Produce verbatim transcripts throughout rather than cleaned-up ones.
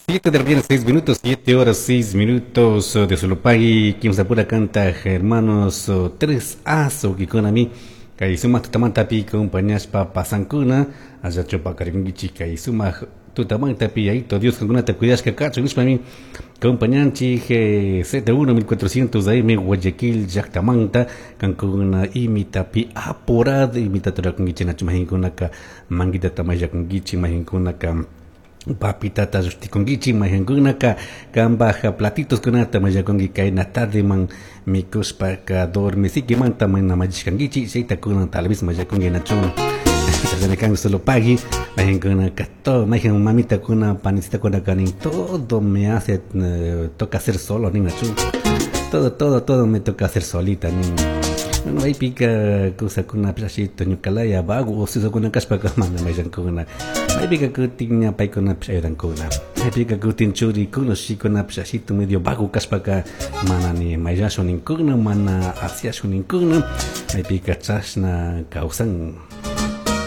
Siete de la mañana, seis minutos, siete horas, seis minutos de Solopagui, Kimsapura canta hermanos tres aso kikunami kay sumaq tutamantapi compañashpa pasankuna allachu paqarikunkichik kay sumaq tutamantapi Yayito Dios kankunata cuidashka kachun nishpami compañanchik Z uno mil cuatrocientos A M Guayaquil llaktamanta kankuna imitapi apurado imitata rurakunkichik nachu mahinkunaka manguitata mayllakunkichik mahinkunaka papitata llushtikunkichik mayhankunaka kanpaj platitos kunata mayllakunki kayna tardeman mikushpaka dormisikimanta mana mallishkankichik chayta kunan tal vez mallakunki nachu chashnami kan solo pagui mayhankunaka todo mayhan mamitakuna panicitakuna nin todo me hace eh, toca hacer solo nin nachu todo todo todo me toca hacer solita nin. Bueno, maypika kusakuna ashito ñukalaya vago ocioso kashpaka mana mayllankuna maypika kutin ña paykunapish ayudankuna maypika kutin churikuna ushikunapish ashito medio vago kashpaka mana ni mayllashun ninkuna mana asyashun ninkuna maypika chashna kawsan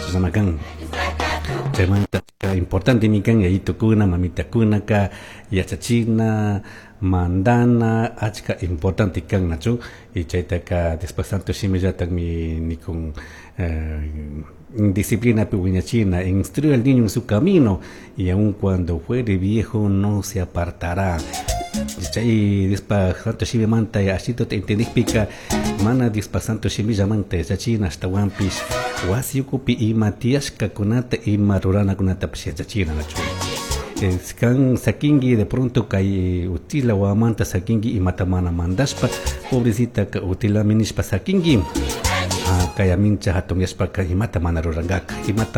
chashnama kan. Chaymanta importantemi kan yayitukuna mamitakunaka yachachina mandana achka importante kan nachu y chaytaka después santo shimillatakmi nikun eh, disciplina wiñachina, instruye al niño en su camino y aun cuando fuere viejo no se apartará. Chay Diospa santo shimimanta ashito entendikpika mana Diospa santo shimillamanta yachachina ashtawanpish wasi ukupi ima tiyashkakunata ima ruranakunatapish yachachina nachu. Kan sakinki de pronto kay utila wawamanta sakinki imata mana mandashpa pobrecita utilami nishpa sakinki kaya mincha hatunyashpaka imata mana rurankaka imata.